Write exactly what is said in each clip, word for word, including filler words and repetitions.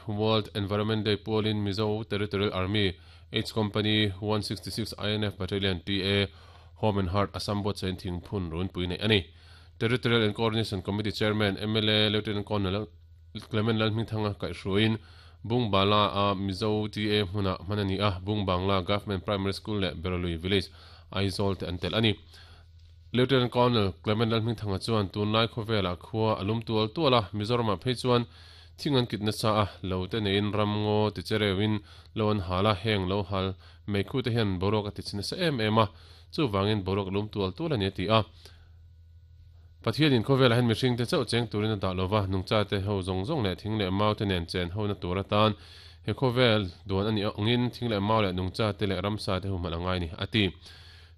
World Environment Day pualin Mizo Territorial Army H Company one sixty-six I N F Battalion T A Home and Heart Assam buatsain thingphun runpui nei ani. Territorial and Coordination Committee Chairman M L A Lieutenant Colonel Clement Lalhmingthanga kaihhruaiin Bungbala a Mizo T A hmuna hmanani a Bungbangla Government Primary School leh Beralui Village Aizawl te an tel ani. Lieutenant Colonel Clement Lalhmingthanga chuan tunlai khawvela khua alum tual tuala Mizoram ah phei chuan thingan kitna sa a lo te nein ramngo ti cherewin loan hala heng lo hal meikhu te hian borok ati china sa em em a chu wangin borok lum tual tual ani ti a Pathianin khawvela hen mihring te chauh cheng turin a dah lova nungcha te ho zawng zawng leh thing leh mau te nen chen ho na tur atan he khawvel duan ani angin thing leh mau leh nungcha te leh ramsa te hu hman angai ni ati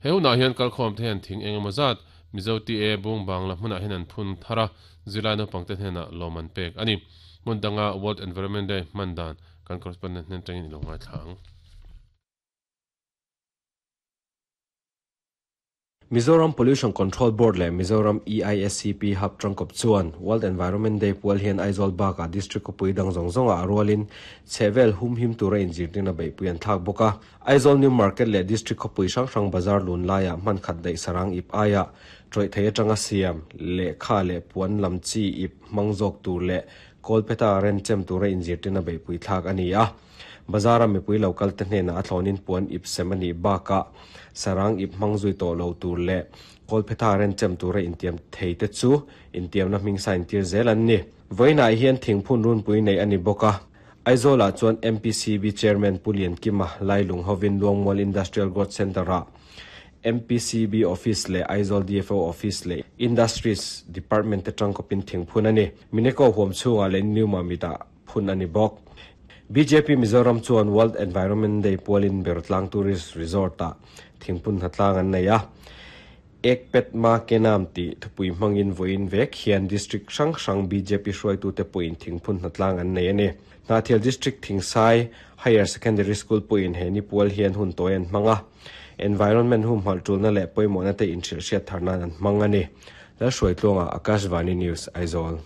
he hunah hian kalkhawm te hian thing engemaw zat Mizo T A Bungbangla hmunah hian an phun thara zilai naupang te hnenah lawm an pek ani hmundanga World Environment Day hman dan kan correspondent hnen tangin ilo ngai thlang. Mizoram Pollution Control Board le Mizoram E I S C P Hub Trangkop chuan World Environment Day pual hian Aizawl baka District kopui dang zawng zawnga a rualin chhevel hum him tura inzirtirna beihpui an thlak bawk a. Aizawl New Market le District kopui hrang hrang bazar lun laia hman khat daih sarang ip aia tawih thei atanga siam lehkha leh puan lam chi ip hmang zawk tur leh Kolpeta renchem tura inzirtirna beihpui thlak ani a. Bazara mipui local te hnena a thlawnin puan ip sem ani baka sarang ip hmangzui to lo tur le Kolpeta renchem tura intiam thei te chu intiamna hming sa intir zel an ni. Vawiinah hian thingphun runpui nei ani bawk a. Aizawlah chuan M P C B Chairman Pulian Kima Lailung hovin Luangmual Industrial Growth Center-ah M P C B Office le Aizawl D F O Office le Industries Department te tangkawpin thingphun ani. Mineko huam chhungah leh New Mamita phun ani bawk. B J P Mizoram chuan World Environment Day pualin Bertlang Tourist Resort-ah thingphun hnatlang an nei a. Ek pet ma kenam ti thupui hmangin vawiin vek hian District hrang hrang B J P hruaitu te pawhin thingphun hnatlang an nei ani. Hnahthial District Thingsai Higher Secondary School pawhin he ni pual hian hun tawi an hmang a. Environment hum hmalh tulna leh pawimawhna te inhrilh hriat tharnan an hmang ani. Lalhruaitluanga Akashvani News Aizawl.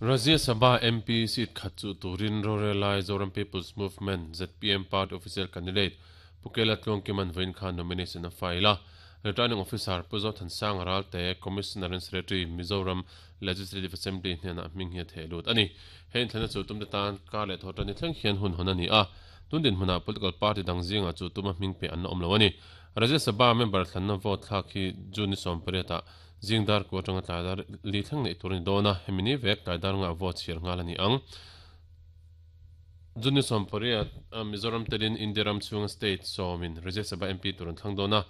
Rajya Sabha M P seat khat chu turin Rorelai Zoram People's Movement Z P M Party official candidate Pukela Tlongkiman vawiin khan nomination a file a. Returning Officer Puzo Thansang Ralte Commissioner and Secretary Mizoram Legislative Assembly hnena hming hi a theh lut ani. Hei inthlana chu tum te tan kar leh thawh ni thleng hian hun hawn ani a. Tundin hmuna political party dang zinga chu tuma hming pe an awm lo ani. Rajya Sabha member thlanna vote thlak hi June sawm pariatah Jingdar ko atanga tlaidar li thleng nei turin dona hemini vek tlaidar nga vote chhiar ngal ani ang. June sawm pariat Mizoram telin Indiaram chhunga state sawmin Rajya Sabha M P turun thlang dona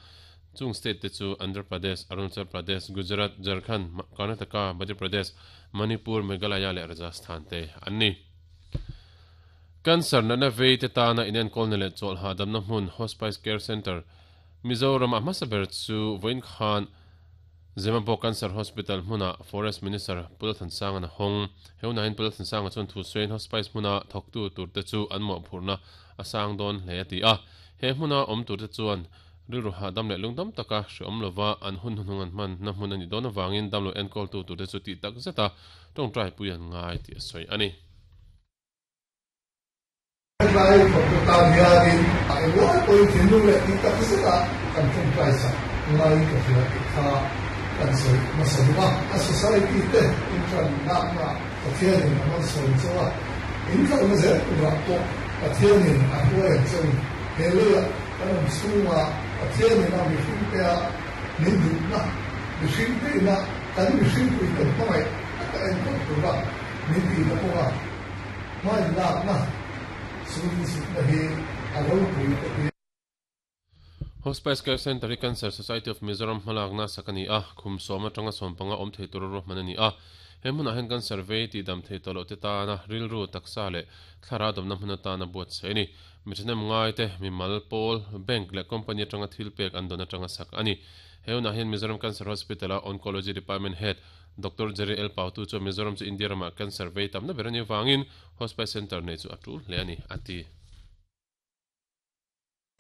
chung state te chu Andhra Pradesh, Arunachal Pradesh, Gujarat, Jharkhand, Karnataka, Madhya Pradesh, Manipur, Meghalaya leh Rajasthan te anni. Cancer na na vei te tana inen kolna leh chawlh hahdamna hmun Hospice Care Center Mizoram a hmasa ber chu vawiin khan Zemabawk Cancer Hospital hmuna Forest Minister Pulathansanga na hawng. He hunah hian Pulathansanga chuan thu sawiin Hospice hmuna thawktu tur te chu an mawhphurhna a sang dawn hle a ti a. He hmuna awm tur te chuan rilru hahdam leh lungdam taka hreawm lova an hun hnung an hman na hmun ani dawn awangin damlo enkawl tu tur te chu tih tak zeta tawngtai pui an ngai tih a sawi ani. Lai thawktu hianin a englai pawhin thinlung leh tih tak zeta kan tawngtai sak ngai ka hria tih kha kan sawi hmasa duh a. A society te intran lakna Pathianin a man sawi chaw a, inkalna zel turah pawh Pathianin a hruai ang chawin he leiah kan awm chhunga Pathianin a mihring te a min duhna mihring te ina kan mihring pui kan hmangaih taka enkawl tura min tihna kawnga hmain lakna surin sutna hi a ropui ka ti. Hospice Care Center hi Cancer Society of Mizoram hmalakna sak ani a, khum sawm atanga sawm panga awm thei tur ruahman ani a. He hmunah hian cancer vei tih dam thei tawh loh te tana rilru taksa leh thlara dawmna hmun atana buat se ani. Miṭhahnem ngai te mimal pawl bank leh company atanga thil pek an dawn atanga sak ani. He hunah hian Mizoram Cancer Hospital a Oncology Department Head Doctor Jerry L Pautu chu Mizoram chu India ramah cancer vei tamna ber ani wangin Hospice Center nei chu a tul hle ani ati.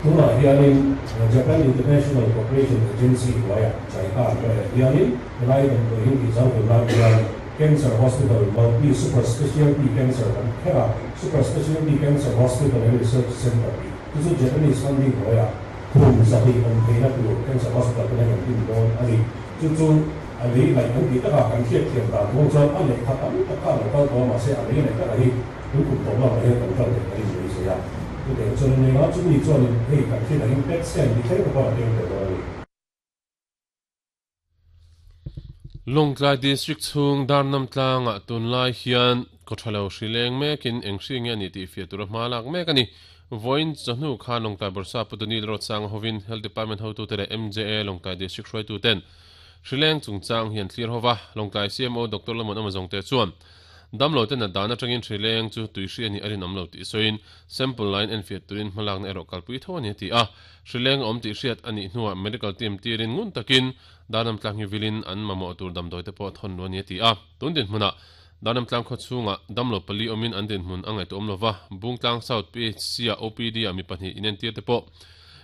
Tunah hianin Japan International Cooperation Agency hnuaiah JICA hnuaiah hianin helai damdawiin tih zau tur lai hian Cancer Hospital, multi super specialty cancer kan khera super specialty cancer hospital and research center chu chu Japanese funding hoya khum zahi om theina tur cancer hospital kan kan tin don ani chu chu ali lai an ti taka kan thiat thiam ta thong chuan a lehkha tam taka lo kal tawh mahse a lei leh taka hi tun kum tawh lamah hian kan kal theih a rin mai zui a chutiang chuan a nia chumi chuanin hei kan hriat angin P E T scan ti thleng te pawh a keng tel dawn a ni. Lawngtlai District chhung Darnam tlangah tunlai hian kawthalo hri leng mekin eng hri nge a nih tih fiah tura hma lak mek a ni. Vawiin chawhnu khan Lawngtlai Bawrhsa Putunil Rawtsanga hovin Health Department hotute leh M J A Lawngtlai District hruaituten hri leng chungchang hi an thlir hova. Lawngtlai C M O Doctor Lamon Amazongte chuan damlo ten a dan atangin hri leng chu tui hri a nih a rinawm lo tih sawiin sample line en fiah turin hmalakna erawh kalpui tho a ni a ti a. Hri leng awm tih hriat a nih hnuah medical team tirin ngun takin Darnam tlang hi vilin an mamawh tur damdawi te pawh thawn lu a ni a ti a. Tun dinhmunah Darnam tlang khaw chhungah damlo pali awmin an dinhmun a ngaihtuah awm lova, Bungtlang South P H C-ah O P D-ah mi pahnih inentir te pawh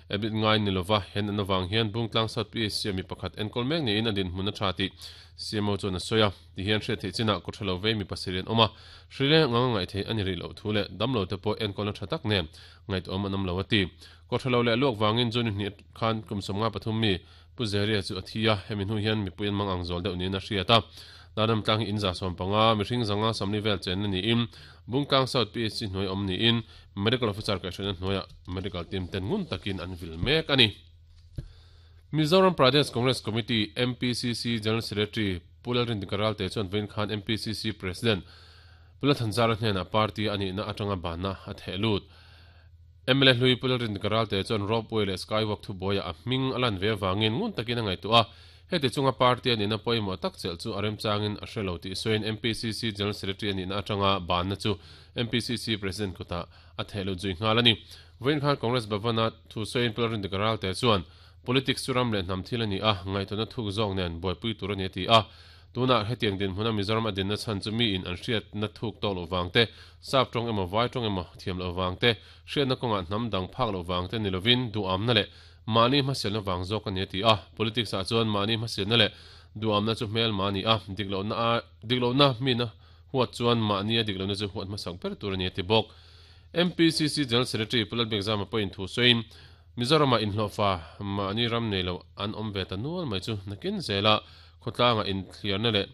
admit ngai ni lova, hen an avang hian Bungtlang South P H C-ah mi pakhat enkawl mek niin a dinhmun a tha tih C M O chuan a sawi a. Tihian hriat theih chinah kawthalo vei mi pasarih an awm a, hri leng ang a ngaih theih a ni rih loh thu leh damlo te pawh enkawlna tha tak nen ngaihtuah an awm lo a ti. Kawthalo leh luak vangin June hnih khan kum sawmnga pathum mi Pu Zeria chu a thi a, hemi hnu hian mipui an mang ang zawl deuh niin a hriat a. Darnam tlang hi inza sawm panga, mihring zanga sawmli vel chenna niin Bungtlang South P H C hnuai awm niin Medical Officer kaihhruaina hnuaiah Medical team ten ngun takin an vil mek a ni. Mizoram Pradesh Congress Committee, M P C C, General Secretary Pu Lalrindika Ralte chuan vawiin khan M P C C President Pu Lalthanzara hnenah party a nihna atanga banna a theh lut. M L A hlui Pu Lalrindika Ralte chuan ropeway leh skywalk thubuaiah a hming a lan ve avangin ngun takin a ngaihtuah a, heti chunga party a nihna pawimawh tak chelh chu a remchangin a hre lo tih sawiin M P C C General Secretary a nihna atanga banna chu M P C C President kutah a theh lut zui nghal a ni. Vawiin khan Congress Bhavana thu sawiin Pu Lalrindika Ralte chuan politics chu ram leh hnam thil a ni a, ngaihtuahna thuk zawk nen buaipui tur a ni a ti a. Tunah hetiang dinhmuna Mizoram a dinna chhan chu miin an hriatna thuk tawk loh vang te, sap tawng emaw vai tawng emaw thiam loh vang te, hriatna kawngah hnam dang phak loh vang te ni lovin duhamna leh mahni hmasialna vang zawk a ni a ti a. Politics ah chuan mahni hmasialna leh duhamna chu hmelma a ni a, diklohna a diklohna mina huat chuan mahni a diklohna chu huat hmasak ber tur a ni a ti bawk. M P C C General Secretary Pu Lalbiakzama pawhin thu sawiin Mizorama inhlawhfa mahni ram nei lo an awm ve ta nual mai chu nakin zela khawtlanga inthliarna leh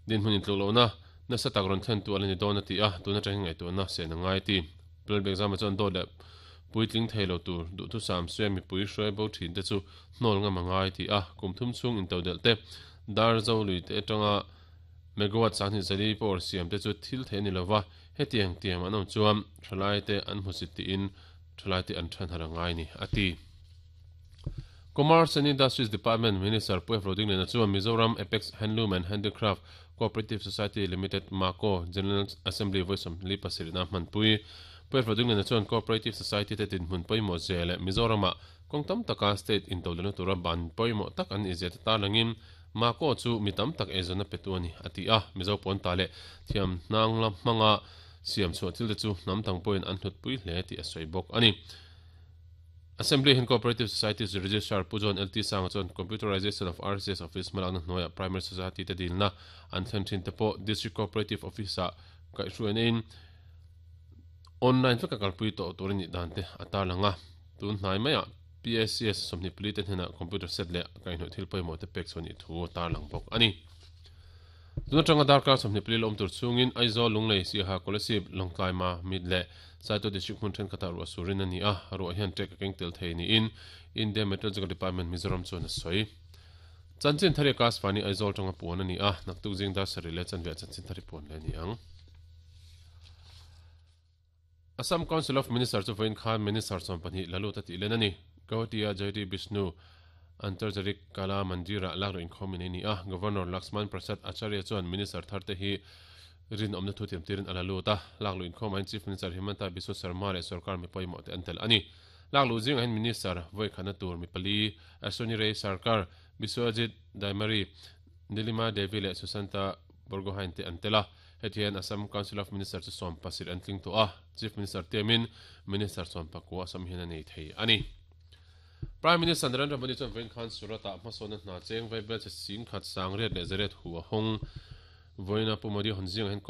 dinhmun intluklohna nasa tak rawn thlen tu a la ni dawn a ti a, tun atangin ngaihtuahna sen a ngai ti. Pu Lalbiakzama chuan dawt leh puitling thei lo tur duhthusam suia mipui hruai bo thin te chu hnawl ngam a ngai ti a, kum thum chhung intodelh te dar zo lui te atanga megawatt sanghnih zali power siam te chu thil thei a ni lova, hetiang tiam an awm chuan thalai te an hmusit tiin thalai te an than har a ngai ni a ti. Commerce and Industries Department Minister Pu F. Rodingliana chuan Mizoram Apex Handloom and Handicraft Cooperative Society Limited MACO General Assembly vawisawmli pasarihna hmanpui. Pu F. Rodingliana chuan Cooperative Society te dinhmun pawimawh zia leh Mizorama kawng tam taka state intodelhna tura ban pawimawh tak an nih zia te tarlangin MACO chu mi tam tak eizawnna petu a ni a ti a. Mizo pawnta leh thiam hnang la hmanga siam chhuah thil te chu hnam dang pawhin an hlutpui hle tih a sawi bawk a ni. Assembly hian Cooperative Societies Registrar Pu John L T Sanga chuan Computerization of R C S Office hmalakna hnuaiah Primary Society te dilna an thlen thin te pawh District Cooperative Office-ah kaihhruaina in online veka kalpui tawh tur a nih dan te a tarlang a. Tun hnai maiah P A C S sawmhnih pali te hnenah computer set leh kaihhnawih thil pawimawh te pek chhuah nih thu a tarlang bawk a ni. Tun atanga darkar sawmhnih pali la awm tur chhungin Aizawl, Lunglei, Siaha, Kolasib, Lawngtlai, Ma, Mit leh Saito District hmun thenkhatah ruah surin a ni a, ruah hian ṭek a keng tel thei niin India Meteorological Department Mizoram chuan a sawi. Chanchin thari Akashvani Aizawl tanga puan a ni a, naktuk zing dar sarih leh chanve ah chanchin thari puan leh a ni ang. Assam Council of Ministers chu vawiin khan Minister sawm pahnih la lut a tih len a ni. Guwahati-a J D Bishnu Antarjarik Kala Mandir-ah lakluh inkhawmin a ni a, Governor Laxman Prasad Acharya chuan Minister tharte hi rinawmna thu tiamtirin a la lut a, lakluh inkhawmah hian Chief Minister Himanta Biswa Sarma leh sorkar mi pawimawh te an tel a ni. Lakluh zingah hian Minister vawikhatna tur mi pali Ashwini Ray Sarkar, Biswajit Daimari, Nilima Devi leh Susanta Borgohain te an tel a. Heti hian Assam Council of Ministers chu sawm pasarih an tling tawh a, Chief Minister tiamin Minister sawm pakua Assam hian a nei thei a ni. Prime Minister Narendra Modi chuan vawiin khan Surat-ah hmasawnna hna cheng vai bel che sing khat sang riat leh zariat hu a hawng. Voina Pu Modi hon zing hen